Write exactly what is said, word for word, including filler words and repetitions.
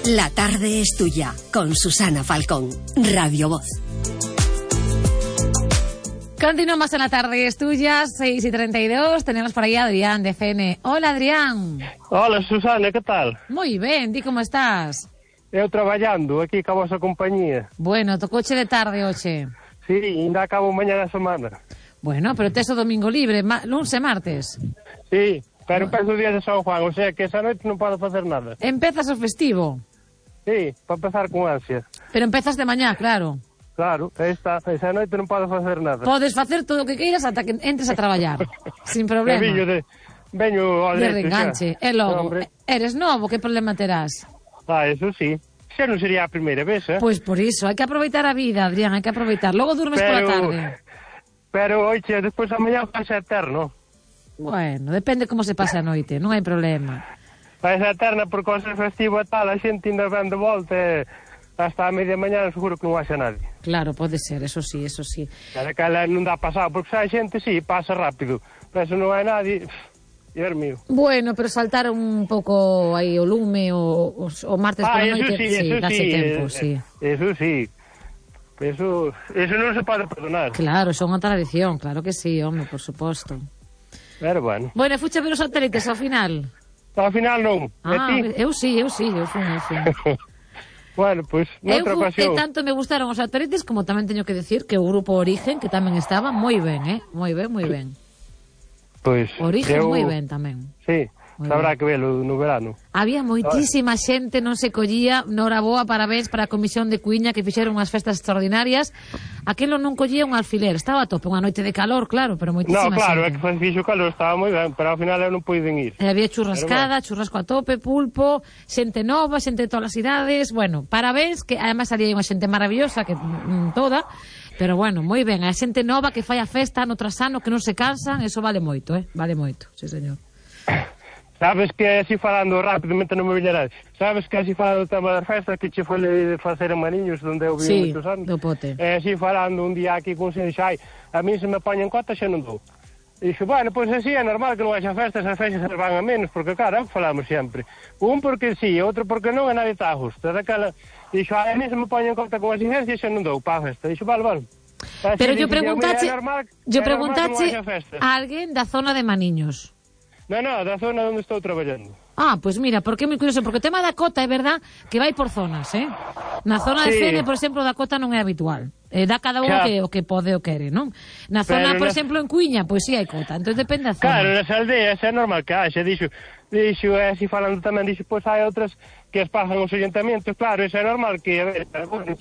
La tarde es tuya, con Susana Falcón, Radio Voz. Continuamos en La tarde es tuya, seis y treinta y dos. Tenemos por aí a Adrián de C N. Hola, Adrián. Hola, Susana, que tal? Moi ben, di como estás? Eu traballando aquí ca vosa compañía. Bueno, tocoche de tarde hoxe. Sí, ainda acabo mañá da semana. Bueno, pero tes o domingo libre, ma luns e martes. Sí, pero empezo o día de San Juan, o sea que esa noite non podo facer nada. Empezas o festivo. Sí, para empezar con ansia. Pero empezas de mañá, claro. Claro, esta, esa noite non podo facer nada. Podes facer todo o que queiras ata que entres a traballar, sin problema. Veño de, veño ao de leite, reenganche, xa. e logo, No, eres novo, que problema terás? Ah, eso sí. Xa non sería a primeira vez, eh? Pois por iso, hai que aproveitar a vida, Adrián, hai que aproveitar. Logo durmes pola tarde. Pero, oiche, despois a mañá faz eterno. Bueno, depende como se pase a noite, non hai problema. Faz eterna por cosas festivas e tal, a xente ainda ven de volta e hasta a media mañá seguro que non haxa nadie. Claro, pode ser, eso sí, eso sí. Cada cala non dá pasado, porque xa a xente sí, pasa rápido. Pero se non hai nadie, Dios mío. Bueno, pero saltar un pouco aí o lume o, o, o martes ah, por la noite, sí, sí, eso dáse sí, tempo, eh, sí. Eso sí. Eso, eso non se pode perdonar. Claro, son unha tradición, claro que sí, home, por suposto. Pero bueno. Bueno, fuche a ver os satélites ao final. Ao final non. Ah, ti? eu sí, eu sí, eu fui, eu fui. Bueno, pois, pues, noutra ocasión. E tanto me gustaron os satélites como tamén teño que decir que o grupo Origen, que tamén estaba moi ben, eh? Moi ben, moi ben. Pois, Origen eu... moi ben tamén. Sí. Habrá que velo no verano. Había moitísima xente, non se collía. Nora boa, parabéns para a Comisión de Cuiña, que fixeron unhas festas extraordinarias. Aquelo non collía un alfiler, estaba a tope, unha noite de calor, claro, pero moitísima xente. No, claro, xente. É que fixo calor, estaba moi ben, pero ao final eu non puiden ir. E había churrascada, bueno. churrasco a tope, pulpo, xente nova, xente de todas as idades. Bueno, parabéns, que además salía unha xente maravillosa, que mm, toda. Pero bueno, moi ben, a xente nova que fai a festa ano tras ano, que non se cansan, eso vale moito, eh? Vale moito, sí, señor. Sabes que así falando rapidamente non me viñerás. Sabes que así falando do tema das festas que che foi de facer en Mariños, onde eu vivo sí, moitos anos. do pote. E así falando un día aquí con sen xai, a mí se me poñen cota xa non dou. E dixo, bueno, pois pues así é normal que non haxa festas, as festas se van a menos, porque claro, falamos sempre. Un porque sí, outro porque non, e nadie está a justo. Daquela, dixo, a mí se me poñen cota con exigencias xa non dou para a festa. Dixo, vale, vale. Así, pero yo dixo, preguntache, normal, yo preguntache no a alguén da zona de Maniños. Non, non, da zona onde estou traballando. Ah, pois pues mira, porque é moi curioso, porque o tema da cota é verdad que vai por zonas, eh? Na zona de sí. Fene, por exemplo, da cota non é habitual. Eh, dá cada unha que, o que pode o quere, non? Na zona, pero por na... exemplo, en Cuiña, pois pues, sí hai cota, entón depende da zona. Claro, nas aldeas é normal que haxa, dixo, dixo, e así falando tamén, dixo, pois pues, hai outras que as pasan os orientamentos, claro, eso é normal que, a ver, bueno,